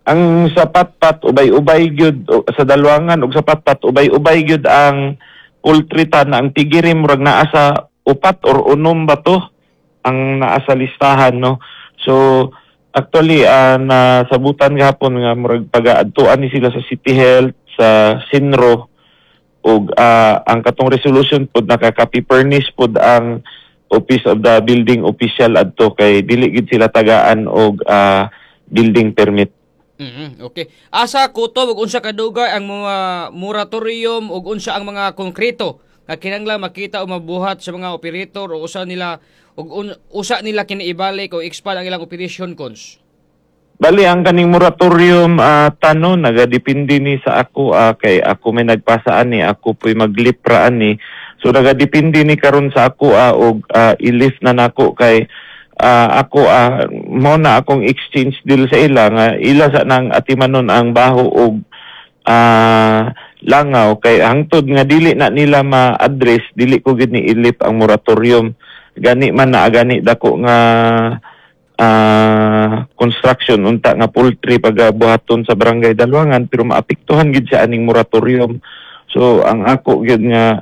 Ang sa Patpat ubay-ubay gyud sa Dalwangan ug sa Patpat ubay-ubay gyud ang poultry tan. Ang piggery murag naa sa upat or unom ba to ang naa sa listahan, no? So actually, nasabutan gahapon nga murag pagaadtuan ni sila sa City Health, sa CENRO, ug ang katong resolution pod nakaka-furnish pod ang Office of the Building Official adto kay dili gid sila tagaan og building permit. Okay. Asa kutob ug unsa kadugay ang mga moratorium ug unsa ang mga konkreto nga kinahanglan makita o mabuhat sa mga operator o usa nila ug usa nila kini ibalik o expand ang ilang operation, Cons? Bali, ang kaning moratorium, tano nagadepende ni sa ako, kay ako may nagpasa ani, ako po'y maglipra ani. So nagadepende ni karon sa ako og i-lift na nako kay ako, mo na akong exchange deal sa ila nga ila sa nang atimanon ang baho og langaw, kay hangtod nga dili na nila ma-address, dili ko gid ni i-lift ang moratorium. Gani man na gani dako nga construction unta nga poultry pagabuhaton sa Barangay Dalwangan, pero maapektuhan gid siya aning moratorium. So ang ako gid nga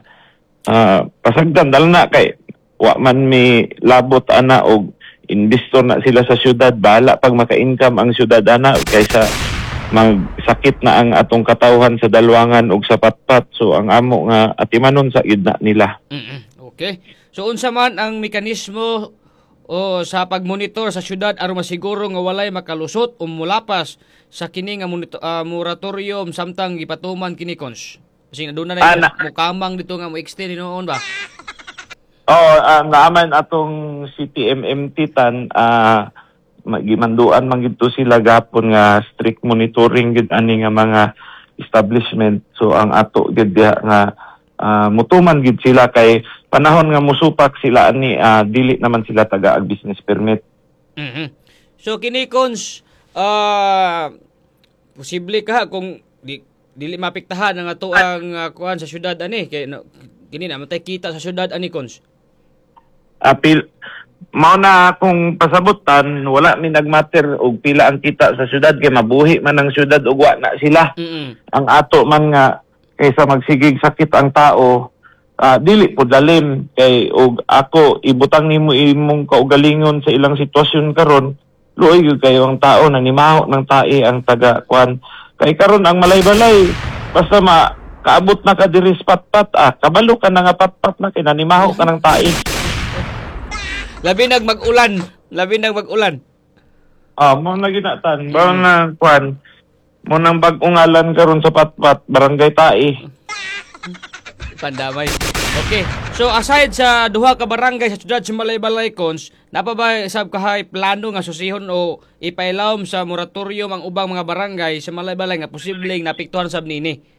pasagdan dal na kay wa man mi labot ana og investor na sila sa syudad. Bahala pag maka-income ang syudad ana kaysa magsakit na ang atong katawhan sa Dalwangan ug sa Patpat. So ang amo nga atimanon sa gid na nila. Okay. So unsa man ang mekanismo o sa pagmonitor sa syudad aron masiguro nga walay makalusot o mulapas sa kini nga moratorium samtang gipatuman kini, Cons? Kasi aduna na mukamang dito nga mo extend hinuon ba? Oo, naaman atong CTMMT tan, gimanduan man gid to sila gapon nga strict monitoring gid ani nga mga establishment. So ang ato gid diha nga mutuman gid sila kay panahon nga musupak sila ani, dili naman sila taga og business permit. So kini, Cons, posible ka kung dili mapiktahan ang ato ang kuan sa syudad ani kay no, kini na matay kita sa syudad ani, Cons? Apil mao na akong pasabutan, wala mi nagmatter og pila ang kita sa syudad kay mabuhi man ang syudad ug wa na sila. Ang ato man nga kaysa magsigig sakit ang tao, dili po dalim kay og ako ibutang nimo imong kaugalingon sa ilang sitwasyon karon, luoy gyud kayo ang tao na nimaho ng tae ang taga kwan kay karon ang Malaybalay, basta ma kaabot na ka diri sa Patpat, kabalo ka na nga Patpat na kay nanimaho ka ng tae. Labi nag mag-ulan, labi nag mag-ulan. Mo na ginatan ba na kwan mo nang bag-ong ngalan karon sa Patpat, Barangay Tae. Pandamay. Okay. So aside sa duha ka barangay sa syudad sa Malaybalay, Cons, napa ba sab kahay plano nga susihon o ipailawom sa moratorium ang ubang mga barangay sa Malaybalay nga posibleng naapektuhan sab nini?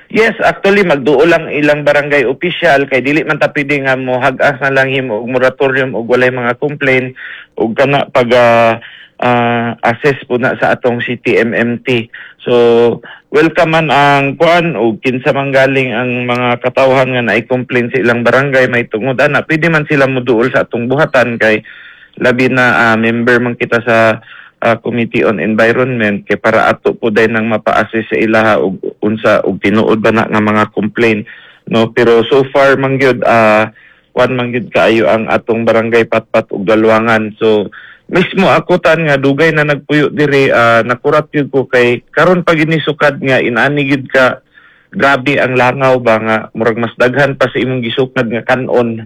Yes, actually magduol lang ilang barangay official kay dili man ta pwede nga mo hag-as na lang himo og moratorium og walay mga complaint og kana pag assess po na sa atong CTMMT. So welcome man ang kuan og kinsa man galing ang mga katawhan nga naay complain sa ilang barangay may tungod ana, pwede man sila moduol sa atong buhatan kay labi na member man kita sa Committee on Environment kay para ato po day nang mapa-assess sa ilaha og unsa og tinuod ba na nga mga complaint, no? Pero so far man gyud, kuan man gyud kaayo ang atong Barangay Patpat ug Dalwangan. So mismo ako tan nga dugay na nagpuyo diri, nakurat gyud ko kay karon pag inisukad nga inani gyud ka grabe ang langaw ba nga murag mas daghan pa sa imong gisukad nga kanon.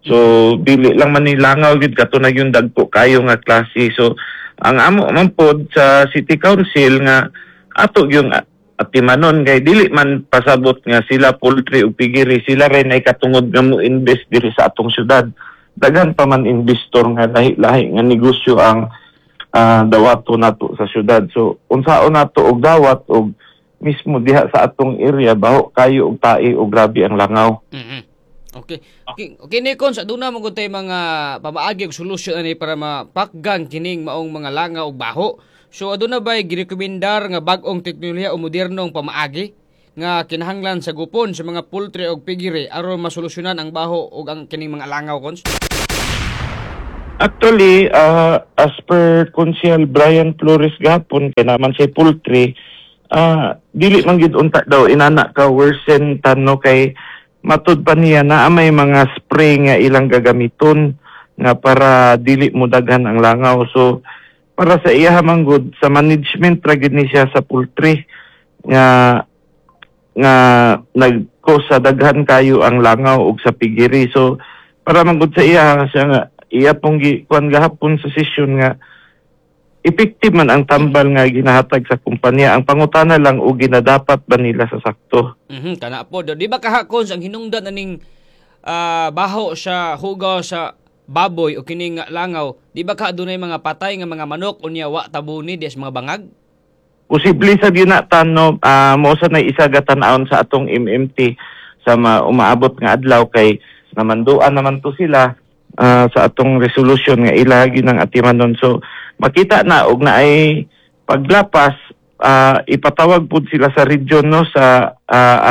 So dili lang man ni langaw gyud kato na yung dagko kayo nga klase. So ang amo man pod sa City Council nga ato yung atimanon kay dili man pasabot nga sila poultry ug piggery sila rin ay katungod nga mo invest diri sa atong syudad. Daghan pa man investor nga lahi-lahi nga negosyo ang dawato nato sa syudad. So unsaon nato og dawat og mismo diha sa atong area baho kayo og tae og grabe ang langaw. Okay. Okay ni Cons, aduna mo gud tay mga pamaagi og solusyon ani para mapakgan kining maong mga langaw ug baho. So aduna bay girekomendar nga bag-ong teknolohiya o modernong pamaagi nga kinahanglan sa gupon sa mga poultry og piggery aron masolusyonan ang baho ug ang kining mga langaw, Cons? Actually, as per Konsehal Brian Flores gahapon, kay naman siya poultry, dili man gid unta daw inana ka worsen, Tan, no, kay matud pa niya na may mga spray nga ilang gagamiton nga para dili mo daghan ang langaw. So para sa iya man gud, sa management ra gid ni siya sa poultry nga nga nag-cause sa daghan kayo ang langaw ug sa piggery. So para man gud sa iya, siya nga iya pong gi kuan gahapon sa session nga effective man ang tambal nga ginahatag sa kumpanya. Ang pangutana lang og ginadapat ba nila sa sakto. Kana po. Di ba kahakon ang hinungdan aning baho sa hugaw sa baboy o kining langaw, di ba ka adunay mga patay nga mga manok unya wa tabuni di sa mga bangag? Posible sa gyud na, Tan, no, mo sa na isa gatan-awon sa atong MMT sa umaabot nga adlaw kay namanduan naman to sila sa atong resolution nga ila gyud ang atimanon. So makita na og naay paglapas, ipatawag pud sila sa region, no, sa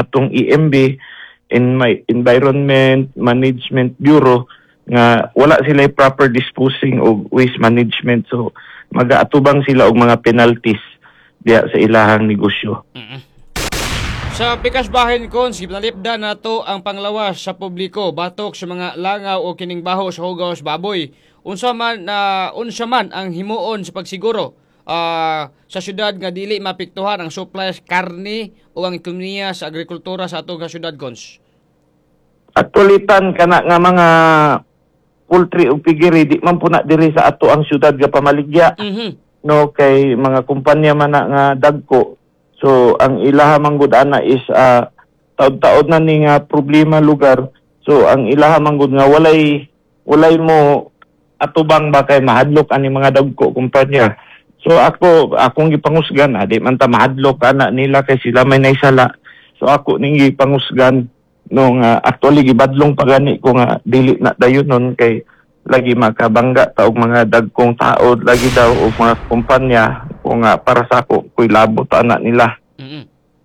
atong EMB in my Environment Management Bureau nga wala sila proper disposing og waste management, so magaatubang sila og mga penalties diya sa ilahang negosyo. Sa pikas bahin, Cons, ginalipdan nato ang panglawas sa publiko batok sa mga langaw o kining baho sa hugaw sa baboy. Unsa man ang himuon sa pagsiguro sa syudad nga dili maapektuhan ang supply sa karne o ang ekonomiya sa agrikultura sa atong syudad, Cons? Actually, Tan, kana nga mga poultry ug piggery di man po na diri sa ato ang syudad ga pamaligya, no, kay mga kumpanya man na nga dagko. So ang ilaha man gud ana is taod-taod na ni nga problema lugar. So ang ilaha man gud nga walay walay mo atubang ba kay mahadlok ani mga dagko kumpanya. So ako, akong gipangusgan, di man ta mahadlok ana nila kay sila may naisala. So ako ning gipangusgan no nga actually gibadlong pa gani ko nga dili na dayon nun kay lagi makabangga ta og mga dagkong tao lagi daw og mga kumpanya ko nga para sa ako kuy labot ana nila.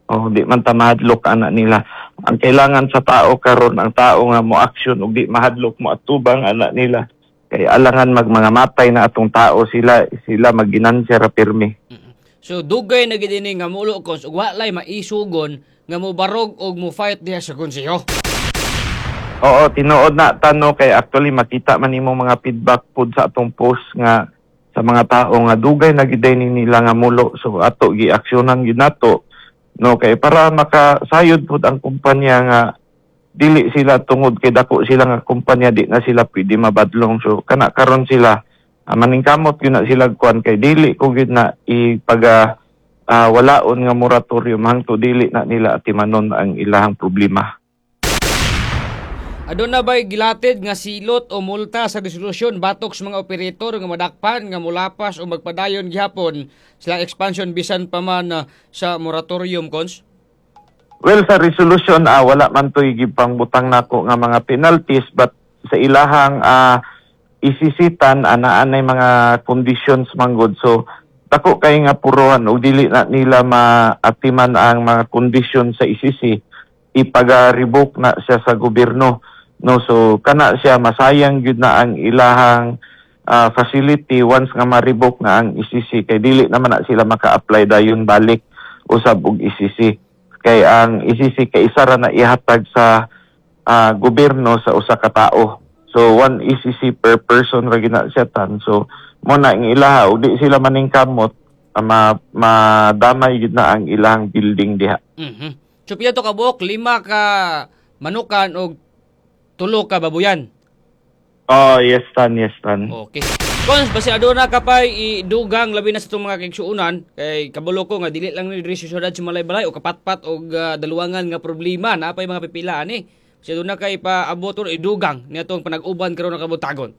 Oh, di man ta mahadlok ana nila. Ang kailangan sa tao karon, ang tao nga mo action ug di mahadlok mo atubang ana nila. Kay alangan mag mga matay na atong tao, sila sila magginansya ra pirmi. So dugay na gid ini nga mulo, Cons, ug walay maisugon nga mobarog og mo fight diha sa konseho. Oo, tinuod na, Tan, no, kay actually makita man nimo mga feedback pud sa atong post nga sa mga tao nga dugay na gid ni nila nga mulo. So ato gi-aksyonan gid nato, no, kay para makasayod pud ang kumpanya nga dili sila tungod kay dako sila nga kumpanya di na sila pwede mabadlong. So kana karon sila maningkamot gyud na sila kuan kay dili ko gyud na ipaga walaon nga moratorium hangtod dili na nila atimanon ang ilahang problema. Aduna ba'y gilatid nga silot o multa sa resolusyon batok sa mga operator nga madakpan nga mulapas o magpadayon gihapon silang expansion bisan pa man sa moratorium, Cons? Well, sa resolution, wala man to'y gipang butang nako nga mga penalties, but sa ilahang isisitan ana-anay mga conditions manggod. So dako kay nga puruhan og dili na nila maatiman ang mga conditions sa ECC, ipaga-revoke na siya sa gobyerno, no. So kana siya, masayang gyud na ang ilahang facility once nga ma-revoke na ang ECC kay dili naman na sila maka-apply dayon balik usab og ECC kay ang ECC kay isa ra na ihatag sa gobyerno sa usa ka tao. So one ECC per person ra gina siya, Tan. So mo na ang ilaha ug di sila maningkamot, madamay gid na ang ilang building diha. So pila to kabuok? Lima ka manukan og tulo ka babuyan. Oh, yes, Tan, yes, Tan. Okay. Cons, basi aduna ka pay idugang labi na sa itong mga kaigsuonan kay kabalo ko nga dili lang ni diri sa syudad sa Malaybalay o kapatpat og daluwangan nga problema na pay mga pipila ani. Basi aduna kay paabot or idugang niadtong panag-uban karon ng kabuntagon.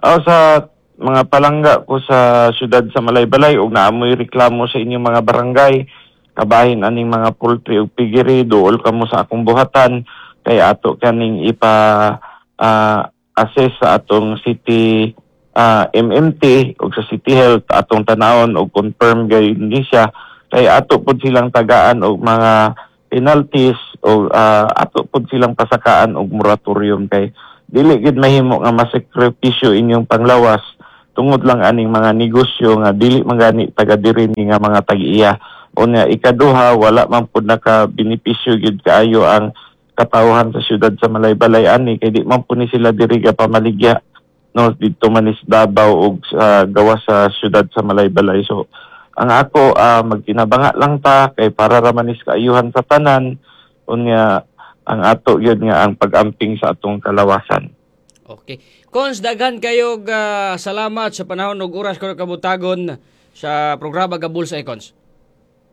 Oh, sa mga palangga ko sa syudad sa Malaybalay ug naamoy reklamo sa inyong mga barangay kabahin aning mga poultry ug piggery, duol kamo sa akong buhatan kay ato kaning ipa assess sa atong city MMT ug sa City Health. Atong tanawon og confirm gayud ni siya kay ato pud silang tagaan og mga penalties o ato pud silang pasakaan og moratorium kay Dili gid mahimo nga masakripisyo inyong panglawas tungod lang aning mga negosyo nga dili man gani taga diri ni nga mga tag-iya. Unya, ikaduha, wala man pud naka benepisyo gid kaayo ang katawhan sa syudad sa Malaybalay ani kay di man pud ni sila diri ga pamaligya, no? Didto man is Davao ug sa gawas sa syudad sa Malaybalay. So ang ako, magtinabanga lang ta kay para ra man is kaayuhan sa tanan. Unya, ang ato gyud nga ang pag-amping sa atong kalawasan. Okay. Cons, daghan kayo salamat sa panahon ug oras karong kabuntagon sa programa Gabul sa Icons.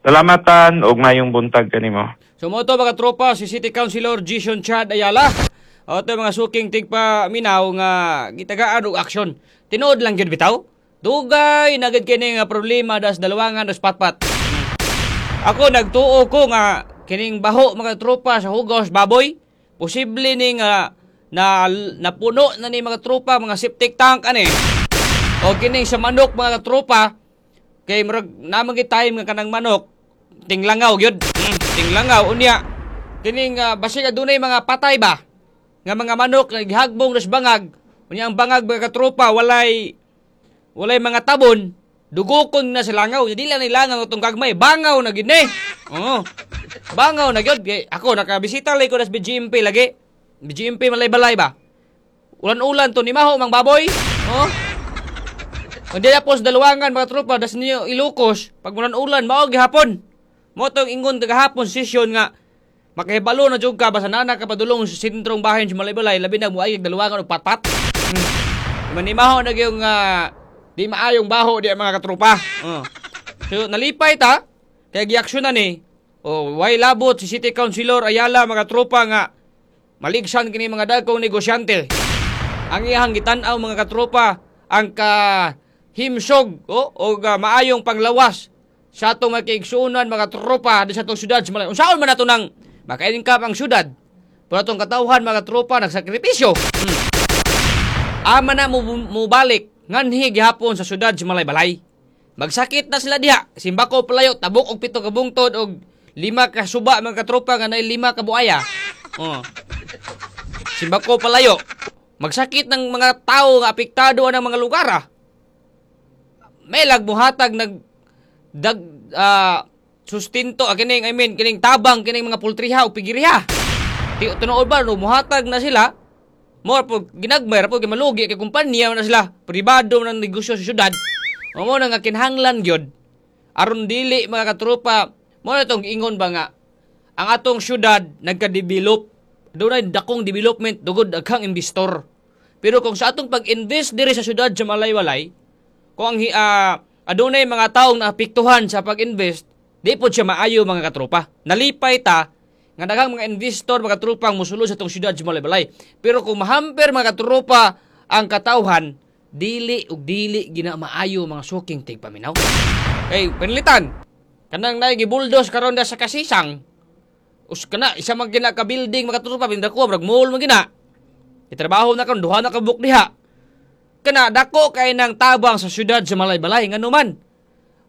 Salamatan ug mayong buntag kanimo. So mo to, mga tropa, si City Councilor Jason Chad Ayala. O ito, mga suking tigpaminaw nga gitagaan og aksyon. Tinuod lang gyud bitaw. Dugay na gid kini nga problema das Dalawangan, das Patpat. Ako, nagtuo ko nga kining baho, mga tropa, sa hugos baboy, posible ni nga na napuno na ni, mga tropa, mga septic tank ani. O kining sa manok, mga tropa, kay murag naman gid time nga kanang manok tinglangaw gyud. Tinglangaw unya kining basig adunay mga patay ba nga mga manok nga gihagbong das bangag. Unya ang bangag, mga katropa, walay walay mga tabon, dugukon na sa langaw. Di lang ni langaw itong gagmay, bangaw na gid ni. Oo. Bangaw na gyud. Kay ako, nakabisita lay ko das BGMP lagi. BGMP Malaybalay ba? Ulan-ulan to ni maho mang baboy. Oh. Hindi na po sa Dalawangan, mga tropa, das niyo Ilocos, pag ulan-ulan, mao gihapon. Mo tong ingon kagahapon session nga makahibalo na jud ka basta naa ka padulong sa sentrong bahin sa Malaybalay, labi na moayag Dalawangan og Patpat. Manimaho na yung di maayong baho di, mga katropa. Oh. So nalipay ta kay giaksyon na ni. Oh, way labot si City Councilor Ayala, mga tropa, nga maligsan kini mga dagkong negosyante. Ang iyang gitan-aw, mga katropa, ang ka himsog oh, o maayong panglawas sa atong mga kaigsuonan, mga tropa, di sa atong syudad sa Malay. Unsaon man nato nang maka-income ang syudad? Pero atong katawhan, mga tropa, nagsakripisyo. Ama na mo mubalik nganhi gihapon sa syudad sa Malaybalay. Magsakit na sila diha. Simbako palayo, tabok og 7 ka bungtod og 5 ka suba, mga katropa, nga naay 5 ka buaya. Oh. Simbako palayo. Magsakit ng mga tao nga apektado ang mga lugar ah. May lagbuhatag nag dag sustento kining, I mean, kining tabang kining mga pultriha o pigiriha. Ti tinuod ba no muhatag na sila mo po ginagmay ra po kay malugi kay kumpanya na sila, pribado man ang negosyo sa syudad. O mo na nga kinahanglan gyud aron dili, mga katropa, mo na tong ingon ba nga ang atong syudad nagka-develop, dunay dakong development dugod daghang investor. Pero kung sa atong pag-invest diri sa syudad sa Malaybalay, kung ang adunay mga taong naapektuhan sa pag-invest, di po siya maayo, mga katropa. Nalipay ta nga daghang mga investor, mga tropa, ang musulod sa atong syudad sa Malaybalay. Pero kung mahamper, mga katropa, ang katawhan, dili ug dili gina maayo, mga suking tigpaminaw. Kay panlitan kanang naay gibuldos karon da sa Kasisang. Us kana isa man gina ka building, mga katropa, bindako murag mall man gina. Itrabaho na karon duha na ka buok diha. Kana dako kay nang tabang sa syudad sa Malaybalay, nganuman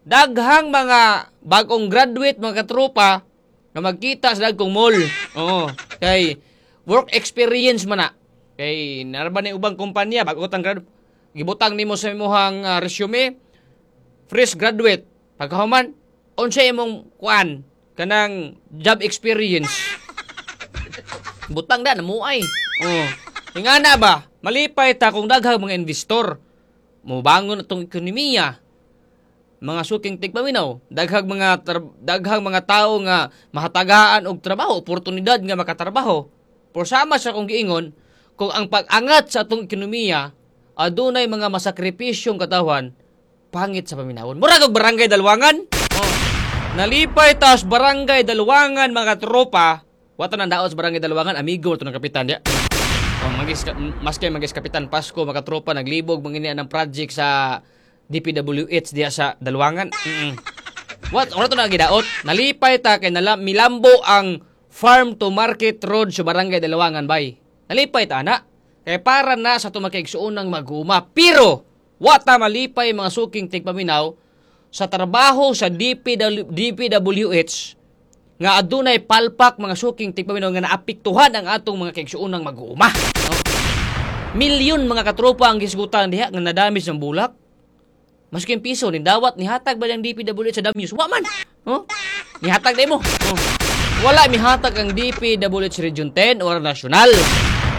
daghang mga bagong graduate, mga katropa, nga magkita sa dagkong mall. Oo, kay work experience man na. Kay narba ni ubang kumpanya bago tang grad gibutang nimo sa imong resume, fresh graduate. Pagkahuman, unsa imong kuan kanang job experience? Butang da namuay. Oh. Ingana ba? Malipay ta kung daghang mga investor. Mubangon atong ekonomiya. Mga suking tigpaminaw, daghang mga tao nga mahatagaan og trabaho, oportunidad nga makatrabaho. Pero sama sa kong giingon, kung ang pag-angat sa atong ekonomiya adunay mga masakripisyong katawhan, pangit sa paminawon. Murag og Barangay Dalwangan. Oh. Nalipay tas Barangay Dalwangan, mga tropa. Wata nang daot sa Barangay Dalwangan, amigo to ng kapitan diya. Oh, magis maski magis Kapitan Pasko, mga tropa, naglibog mga ng project sa DPWH diya sa Dalwangan. What? Ora to na gidaot. Nalipay ta kay nala, milambo ang farm to market road sa Barangay Dalwangan bay. Nalipay ta na. Kay para na sa tumakigsuonang maguma. Pero wata malipay, mga suking tigpaminaw, sa trabaho sa DPW, DPWH nga adunay palpak, mga suking tigpaminaw, nga naapektuhan ang atong mga kaigsuonang mag-uuma. No? Milyon mga katropa ang gisgutan diha nga nadamage ng bulak. Maski piso ni dawat ni hatag ba ng DPWH sa Damyos? Wa man. Oh? Nihatag mo. Oh. Wala mihatag ang DPWH Region 10 or national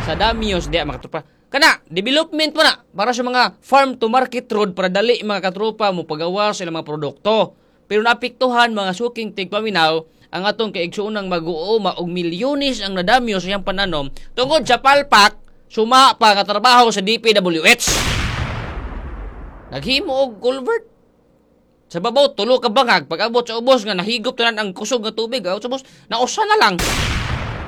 sa Damyos diha mga katropa. Kana development mo na para sa mga farm to market road para dali mga katropa mo pagawa sa ilang mga produkto. Pero naapektuhan mga suking tigpaminaw ang atong kaigsuonang mag-uuma og milyones ang nadamyos sa iyang pananom tungod sa palpak suma pa nga trabaho sa DPWH. Naghimo og culvert. Sa babaw tulo ka bangag, pag-abot sa ubos nga nahigop tanan ang kusog nga tubig, abot sa ubos, nausa na lang.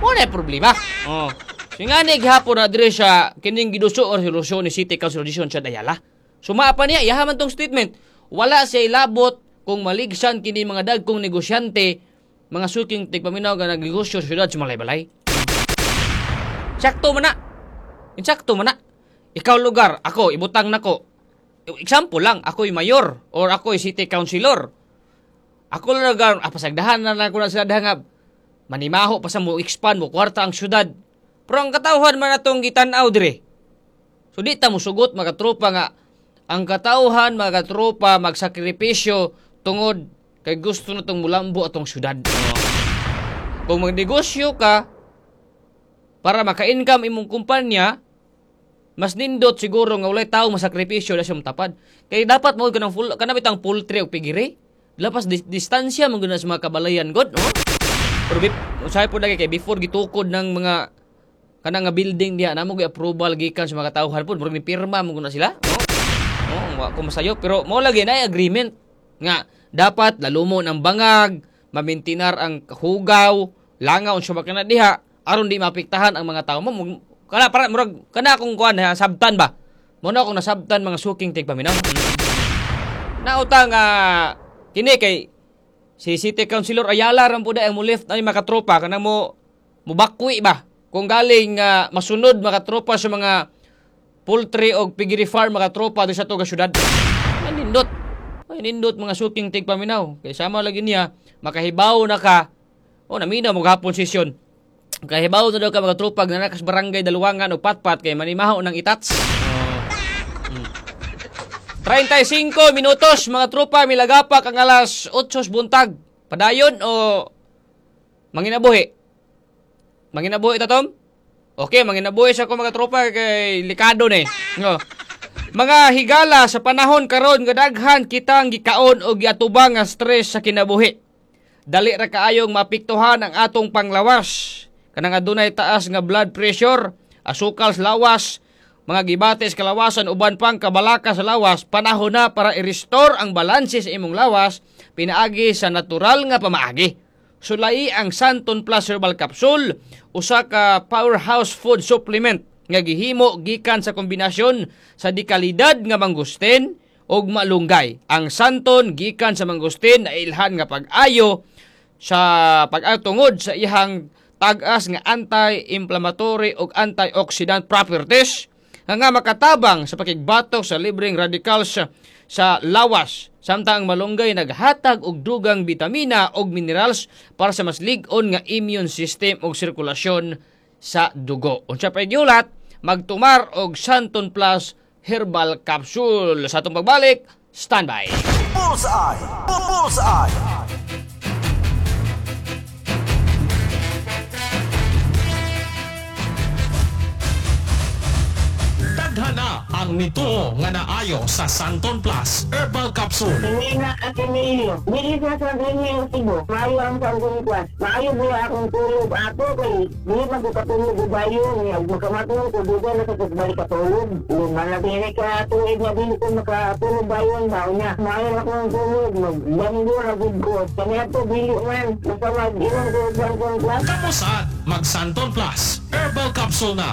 Wala problema. Oh. So nga ni gihapon na diri siya kining giduso or solusyon ni City Council Dison sa Dayala. Suma pa niya iyaha man tong statement. Wala siya ilabot kung maligsan kini mga dagkong negosyante, mga suking tigpaminaw nga nagnegosyo sa syudad sa Malaybalay. Sakto man na. Insakto man na. Ikaw lugar, ako ibutang nako. Example lang, ako'y mayor or ako'y city councilor. Ako lugar, pasagdahan na lang ko na sila nga manimaho pa sa mo expand mo kwarta ang syudad. Pero ang katawhan man atong gitan-aw dire. So di ta mosugot mga tropa nga ang katawhan mga tropa magsakripisyo tungod kay gusto na tong mulambo atong syudad. Kung magnegosyo ka para maka-income imong kumpanya, mas nindot siguro nga walay tao masakripisyo na siyang tapad. Kay dapat mo kanang full kanang bitang poultry og pigiri. Lapas distansya man gud na sa mga kabalayan god, oh. Pero usahay po lagi kay before gitukod ng mga kanang nga building diha namo gi approval gikan sa mga katawhan pod, murag ni pirma man gud na sila, oh. Oh, wa ko masayo pero mo lagi na agreement nga dapat lalumon ang bangag, mamintinar ang hugaw, langaw unsa ba kana diha aron di maapektahan ang mga tao mo. Kana para murag kana akong kuan ha, sabtan ba. Mo na akong nasabtan mga suking tigpaminaw. Nauta nga kini kay si City Councilor Ayala ran pud ang mo left ay makatropa kana mo mubakwi ba kung galing masunod makatropa sa mga poultry og piggery farm makatropa di sa tuga syudad. Nindot. Ay nindot mga suking tigpaminaw. Kay sama lagi niya makahibaw na ka. O naminaw mo gahapon sesyon. Kahibaw na daw ka mga tropa nga nakas barangay Daluwangan o Patpat kay manimaho ng itats. 35 minutos mga tropa milagapak ang alas 8 buntag. Padayon o manginabuhi? Manginabuhi ta Tom? Okay, manginabuhi sa ko mga tropa kay likado ni. No. Mga higala sa panahon karon nga daghan kitang gikaon og giatubang nga stress sa kinabuhi. Dali ra kaayong maapektuhan ang atong panglawas. Kanang adunay taas nga blood pressure, asukal sa lawas, mga gibates kalawasan uban pang kabalaka sa lawas, panahon na para i-restore ang balanse sa imong lawas pinaagi sa natural nga pamaagi. Sulai ang Santon Plus Herbal Capsule, usa ka powerhouse food supplement nga gihimo gikan sa kombinasyon sa dikalidad nga mangustin ug malunggay. Ang Santon gikan sa mangustin na ilhan nga pag-ayo sa pag-atungod sa iyang tag-as nga anti-inflammatory ug antioxidant properties nga makatabang sa pakigbatok sa libreng radicals sa lawas. Samtang ang malunggay naghatag og dugang bitamina ug minerals para sa mas lig-on nga immune system ug sirkulasyon sa dugo. Unsa pa giulat, magtumar og Santon Plus Herbal Capsule. Sa atong pagbalik, standby. Bullseye! Bullseye! Tadhana ang nituo nga naayo sa Santon Plus Herbal Capsule. Hindi na Ateneo. Dili sa sa Cebu. Maayo ang Santon Plus. Maayo buya akong tulog ato kay dili man ko katulog og bayo niya. Makamatulog ko duga na sa pagbalik katulog. Malabing ka tuig nga dili ko makatulog bayon ba niya. Maayo akong tulog magbanggo ra gud ko. Kaniadto dili man basta mag-inom ko og Santon Plus. Kamusad mag Santon Plus Herbal Capsule na.